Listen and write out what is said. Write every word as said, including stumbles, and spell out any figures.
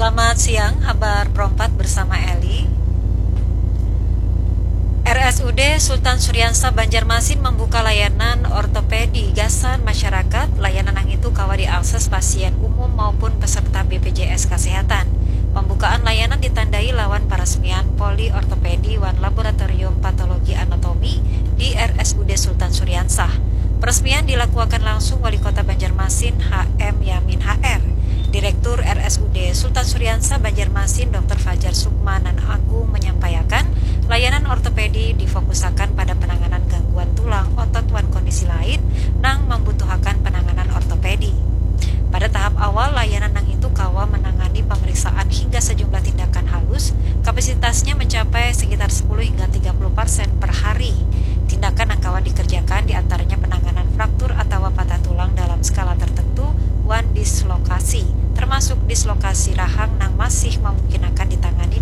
Selamat siang, habar perompat bersama Eli. R S U D Sultan Suriansa Banjarmasin membuka layanan ortopedi gasan masyarakat. Layanan yang itu kawa diakses pasien umum maupun peserta B P J S Kesehatan. Pembukaan layanan ditandai lawan peresmian poli ortopedi wan laboratorium patologi anatomi di R S U D Sultan Suriansah. Peresmian dilakuakan langsung Wali Kota Banjarmasin H M Yamin H R. Direktur R S U D Sultan Suriansa Banjarmasin Doktor Fajar Sukma nan Agung menyampaikan, layanan ortopedi difokusakan pada penanganan gangguan tulang, otot wan kondisi lain nang membutuhakan penanganan ortopedi. Pada tahap awal, layanan nang itu kawa menangani pemeriksaan hingga sejumlah tindakan halus, kapasitasnya mencapai sekitar sepuluh hingga tiga puluh persen per hari. Tindakan yang kawa dikerjakan diantaranya penanganan fraktur atau patah tulang dalam skala tertentu wan dislokasi, termasuk dislokasi rahang nang masih memungkinakan ditangani